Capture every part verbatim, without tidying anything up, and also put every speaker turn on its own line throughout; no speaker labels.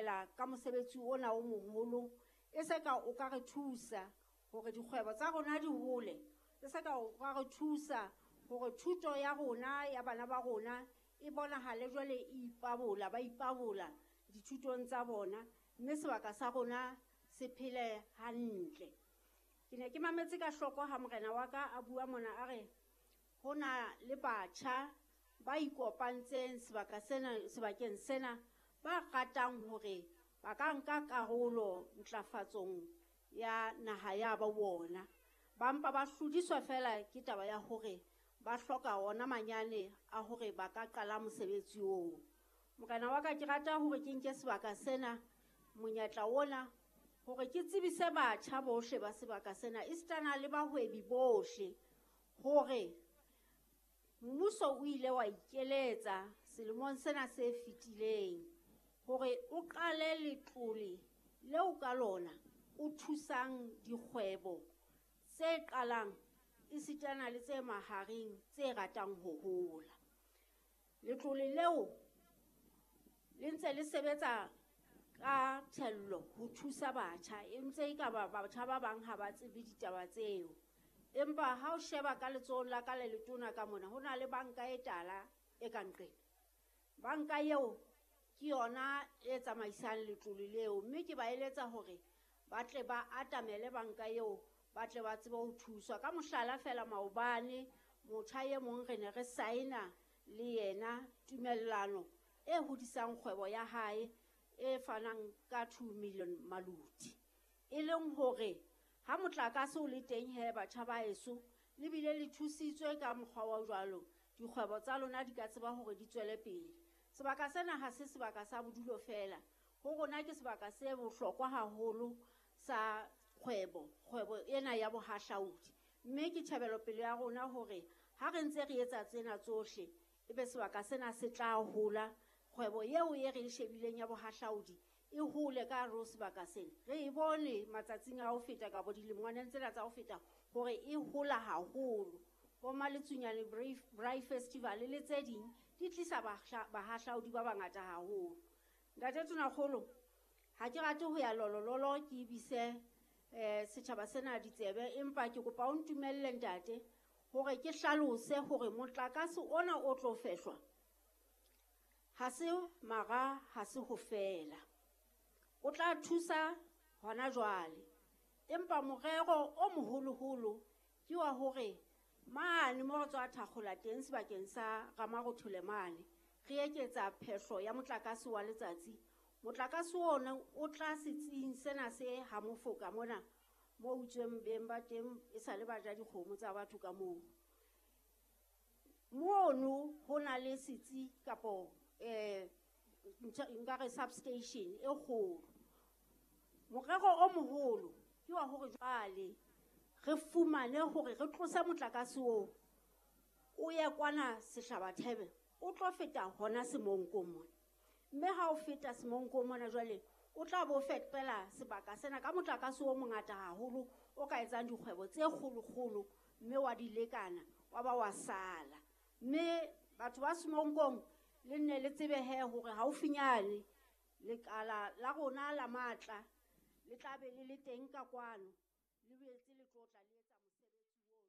lebohela ka mosebetsi ona o moholo. E se ka o ka re thusa hore dikgwebo tsa rona di hole. E se ka o ka re thusa hore thuto ya rona ya bana ba rona e bonahale jwale e ipabola, ba ipabola dithutong tsa bona, mme sebaka sa rona se phele hantle. Ke ne ke mametse ka hloko ha morena wa ka a bua mona a re ho na le batjha ba ikopantseng sebaka sena, sebakeng sena, ba ratang hore ba ka nka karolo ntlafatsong ya naha ya ba bona. Ba mpa ba hlodiswa fela ke taba ya hore ba hloka ona manyane a hore ba ka qala mosebetsi oo. Morena wa ka, ke rata hore ke nke sebaka sena, monyetla ona, hore ke tsebise batjha bohle ba sebaka sena, esitana le bahwebi bohle, hore mmuso o ile wa ikeletsa selemong sena se fetileng hore o qale letlole leo ka lona o thusang dikgwebo tse qalang esitana le tse mahareng tse ratang ho hola. Letlole leo le ntse le sebetsa ka thello ho thusa batjha, e ntse e ka ba batjha ba bang ha ba tsebe ditaba tseo. Empa ha o sheba ka letsohong la ka le letona ka mona, ho na le banka e tala e ka nqena. Banka eo ke yona e tsamaisang letlole leo, mme ke ba eletsa hore ba tle ba atamele banka eo, ba tle ba tsebe ho thuswa. Ka mohlala fela, maobane motjha e mong re ne re saena le yena tumellano e hodisang kgwebo ya hae e fanang ka two million maluti. E leng hore ha motlakase o le teng he, batjha ba heso, le bile le thusitswe ka mokgwa wa jwalo, dikgwebo tsa lona di ka tseba hore di tswele pele. Sebaka sena ha se sebaka sa bodulo fela, ho rona ke sebaka se bohlokwa haholo sa kgwebo, kgwebo ena ya bohahlaudi. Mme ke tjhebelopele ya rona hore ha re ntse re etsa tsena tsohle, ebe sebaka sena se tla hola, kgwebo eo e re e shebileng ya bohahlaudi e hole ka hare ho sebaka sena. Re e bone matsatsing a ho feta kapa dilemongwaneng tsena tsa ho feta hore e hola haholo. Bo Maletsunyane Braai Festival le tse ding di tlisa bahahlaudi ba bangata haholo. Ntate Tonakgolo, ha ke rate ho ya lolololo ke ibise eh setjhaba sena ditsebe, empa ke kopa o ntumelle ntate hore ke hlalose hore motlakase ona o tlo fehlwa ha se mara, ha se ho fela. O tla thusa hona jwale, empa morero o moholoholo ke wa hore mane mo re tswa thakgola teng sebakeng sa Ramarothole mane, re eketsa phehlo ya motlakase wa letsatsi. Motlakase ona o tla setsing sena se ha mofoka mona mo utsweng beng ba teng e sa le ba ja dikgomo tsa batho ka moo. Mono ho na le setsi kapo eh nka re substation e kgolo. Morero o moholo ke wa hore jwale re fumane hore re tlose motlakase oo o ye kwana Sehlabathebe, o tlo feta hona Semonkong mona. Mme ha o feta Semonkong mona jwale o tla bo fepela sebaka sena ka motlakase o mongata haholo o ka etsang dikgwebo tse kgolokgolo, mme wa di lekana wa ba wa sala. Mme batho ba Semonkong le nne le tsebe he hore haufinyane lekala la rona la matla le tla be le le teng ka kwano, le boetse le tlo tla le etsa mosebetsi ono.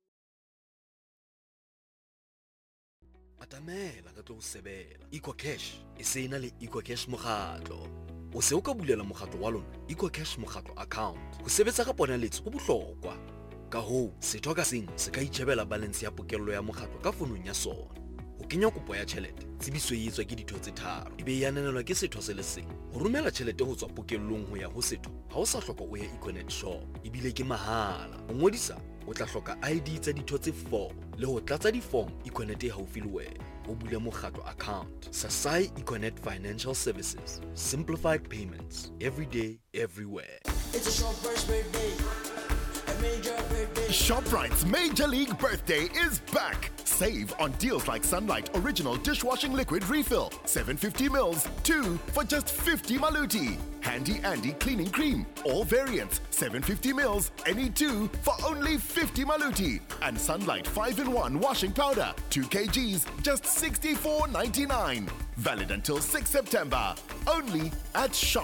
Atamela ka tlo sebela. EcoCash e se ena le EcoCash mokgatlo. O se o ka bulela mokgatlo wa lona EcoCash mokgatlo account. Ho sebetsa ka ponaletso ho bohlokwa. Ka hoo, setho ka seng se ka itjhebela balance ya pokello ya mokgatlo ka fonong ya sona. Ho kenya kopo ya tjhelete, tsebiso e etswa ke ditho tse tharo, ebe e ananelwa ke setho se le seng. Ho romela tjhelete ho tswa pokellong ho ya ho setho, ha o sa hloka o ye Econet shop, ebile ke mahala. Ho ngodisa, o tla hloka I D tsa ditho tse four le ho tlatsa di-form Econet e haufi le wena. O bule mokgatlo account. Sasai Econet Financial Services. Simplified payments. Every day, everywhere.
It's a Shoprite's birthday. A major birthday.
Shoprite's Major League Birthday is back. Save on deals like Sunlight Original Dishwashing Liquid Refill, seven fifty mils, two for just fifty maluti. Handy Andy Cleaning Cream, all variants, seven fifty mils, any two for only fifty maluti. And Sunlight five in one Washing Powder, two kilograms, just sixty-four ninety-nine. Valid until sixth September. Only at Shoprite.